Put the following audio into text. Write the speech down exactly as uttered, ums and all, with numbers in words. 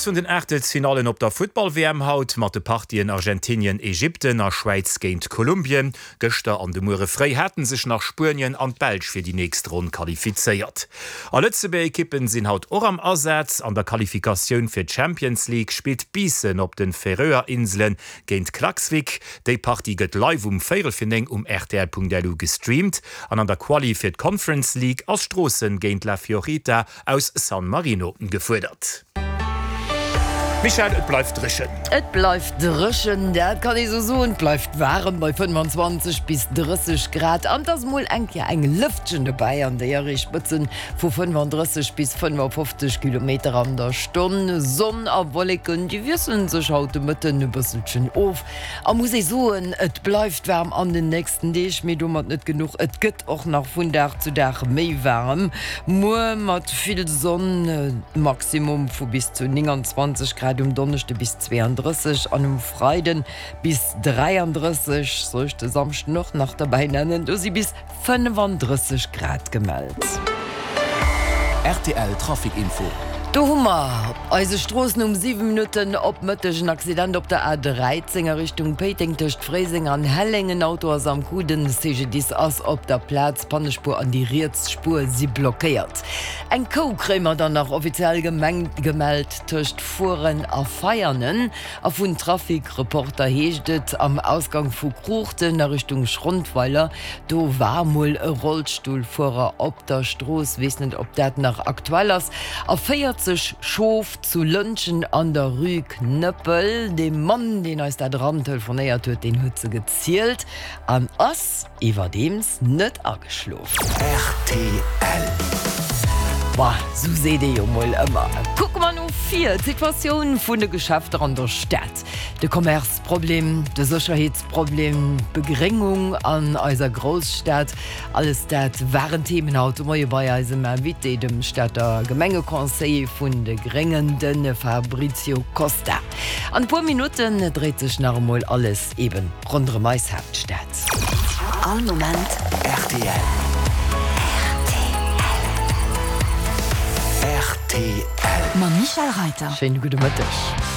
vun den Aachtelsfinallen op der Futtball-WM haut mat de Partien Argentinien-Ägypten a Schwäiz géint Kolumbien. Gëschter an de Muere fréi hate sech nach Spuenien an d'Belsch fir déi nächst Ronn qualifizéiert. A Lëtzebuerger Ekippen sinn haut och am Asaz. An der Qualifikatioun fir d'Champions League spillt Biissen op de Färöer Inselen géint Klaksvik. Déi Partie gëtt live um véierel fir néng um rtl.lu gestreamt. An an der Quali fir d'Conference League ass Stroossen géint La Fiorita aus San Marino gefuerdert. Michèle, et bleift dréchen. Et bleift dréchen, dat kann ee sou soen. Et bleift waarem bei fënnwanzwanzeg bis drësseg Grad an et ass mol eng Kéier eng Lëftchen dobäi an déi erreecht Spëtzen vu fënnwanddrësseg bis fënnefafofzeg Kilometer an der Stonn. Sonn a Wolleken, déi wiessele sech haut de Mëtten e bësselchen of. A muss ee soen, et bleift waarm an den nächsten Deeg, mee domat net genuch, et gëtt och nach vun Dag zu Dag méi waarem. Muer mat vill Sonn, Maximum vu bis zu nénganzwanzeg Grad, um Donneschde bis zweeandrësseg an um Freide bis dräiandrësseg. Soll ech de Samschden och nach derbäi nennen? Do si bis fënnefandrësseg Grad gemellt. Rtl Trafic Info. Do hu mer op eise Stroossen um siwe Minutten op Mëtteg en Accident op der A dräizéng a Richtung Péiteng tëscht Fréiseng an Helleng. En Auto ass am Coup, den C G D I S ass op der Plaz, d'Pannespuer an déi riets Spuer si blockéiert. Eng Kou kréie mer dann nach offiziell gemellt tëscht Furen a Veianen. A vun Trafic-Reporter heescht et, am Ausgang vu Kruuchten a Richtung Schrondweiler, do war mol e Rollstullfuerer op der Strooss, weess net ob dat nach aktuell ass. A véierzeg Schof zu Lëntgen an der Rue Knuppel. Dee Mann, deen eis dat erantelefonéiert huet, deen huet se gezielt an ass iwwerdeems net ageschlof. Rtl. Bah, sou seet ee jo mol ëmmer. Kucke mer no vir, d'Situatioun vun de Geschäfter an der Stad, de Commerce-Problem, de Sécherheetsproblem, d'Begréngung an eiser Grousstad, alles dat waren Themen haut de Moie bei eisem Invité, dem Stater Gemengeconseiller vun de Gréngen, de Fabrizio Costa. An e puer Minutten dréit sech nach emol alles eben ronderëm eis Haaptstad. All Moment rtl. Rtl. Mam Michèle Reiter. Schéine gudde Mëtteg.